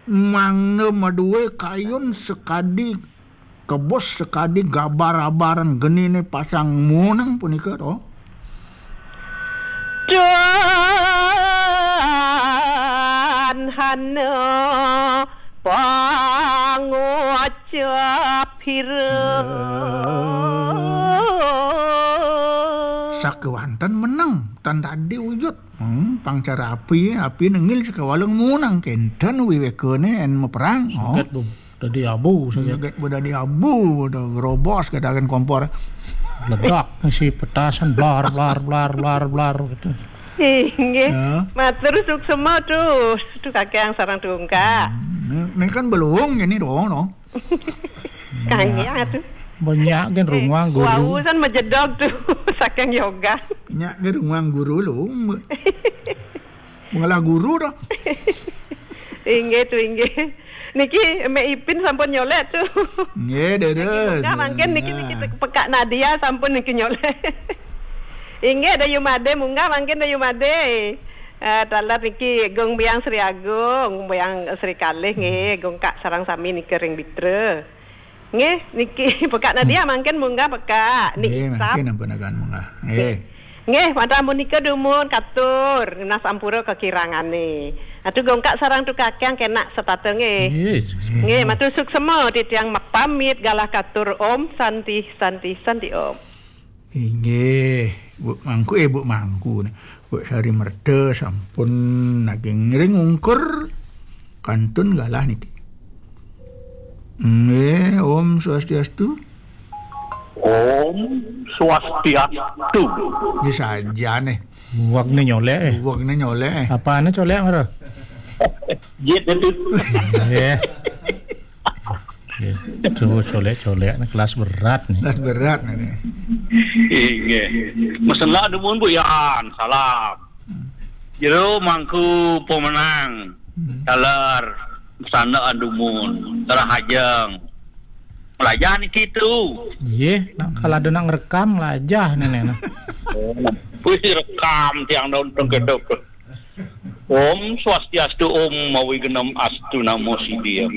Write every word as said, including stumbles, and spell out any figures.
Mangda madué kayun sakadi kebus, sakadi gabar-abaran geniné pasang muneng punika to. Dan hana pangucap hira. Sakewanten meneng, tan dadi wujud. Hmm, pang cara api, api nengil sakawaleng muneng, kénten wiwékané yén maperang. Oh. Saget bu, dadi abu saget. Saget bu dadi abu, bu grobos kadakan kompor. Ledak, ngisi petasan, blar, blar, blar, blar, blar gitu. Inggih. Ya. Matur suksema tu. Tu kakang sareng tungkak. Ini, ini kan belum gini dong, no. Kanggé atuh. Banyak kan runguang guru. Wau san majedog tu. Saking yoga. Nya ke ruang guru lu. Mengelah guru dah. Inggih tu inggih. Niki Mek Ipin sampun nyolek tu. Nggih, deres. Munggah mangkin niki niki pekak Nadia sampun niki nyolek. Inggih, Dayu Made munggah mangkin Dayu Made. Eh, taler niki Gung Biang Sri Agung, Biang Sri Kalih nggih, Gung Kak sareng sami niki ring Bitra. Nggih, niki pekak Nadia mangkin munggah pekak. Nik Nggih, Sap. Mangkin ampun akan munggah. Nggih. Nggih, mata munika dumun katur, nah sampura kakirangané. Atuh Gung Kak sareng tu kakang kenak setata nggih. Yes. Nggih, matur suksema titiang mapamit galah katur Om Santi Santi Santi Om. Inggih, Bu Mangku, eh, Bu Mangku. Bu Sari Merta sampun naging ring ungkur kantun galah niki. Nggih, Om Swastiastu. Om Swastiastu. Ini saja nih. Wag ni nyolek eh. Buwag na nyolek eh. Apaan colek mara? Jit itu. Eh. Eh, Tuh colek-colek ni kelas berat ni. Das berat ini. Inggih. Mesela dumun Bu Yan. Salam. Jero mangku pemenang. Taler sana dumun. Terah ajeng. Melajah niki tu. Yeh, nak kalau ada nak ngerekam lah aja nenek nah. Wis rekam tiang daun tengkedok. Om Swastiastu, Om Mawi Genem Astu Namo Sidham.